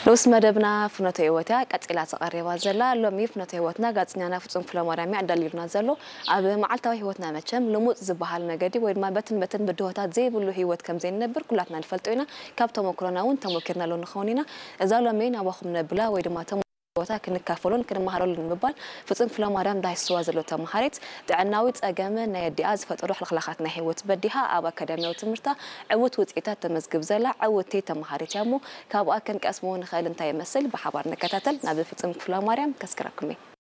ንኡስ መደብና ፍኖተ ህይወት እያ ቀጺላ ተቐሪባ ዘላ። ሎሚ ፍኖተ ህይወትና ጋዜጠኛና ፍጹም ክፍለማርያም እያ ኣዳልዩልና ዘሎ። ኣብ መዓልታዊ ህይወትና መቸም ልሙጽ ዝበሃል መገዲ ወይ ድማ በትን በትን ብድሆታት ዘይብሉ ህይወት ከም ዘይንነብር ኩላትና ንፈልጦ ኢና። ካብ ተመክሮና እውን ተመኪርናሉ ንኸውን ኢና። እዛ ሎሚ ናባኹም ነብላ ወይ ድማ ተመ- ህይወታ ክንካፈሎን ክንመሃረሉን ንምባል ፍጹም ክፍለማርያም ዳሂስዋ ዘሎ ተመሃሪት ጥዕናዊ ጸገም ናይ ኣዲኣ ዝፈጠሩ ሕልኽላኻት ናይ ህይወት በዲሃ ኣብ ኣካዳሚያዊ ትምህርታ ዕውት ውጽኢታት ተመዝግብ ዘላ ዕውቲ ተመሃሪት እያ እሞ ካብኣ ክንቀስሞ ንኽእል እንታይ ይመስል ብሓባር ንከታተል። ናብ ፍጹም ክፍለማርያም ከስክረኩም እየ።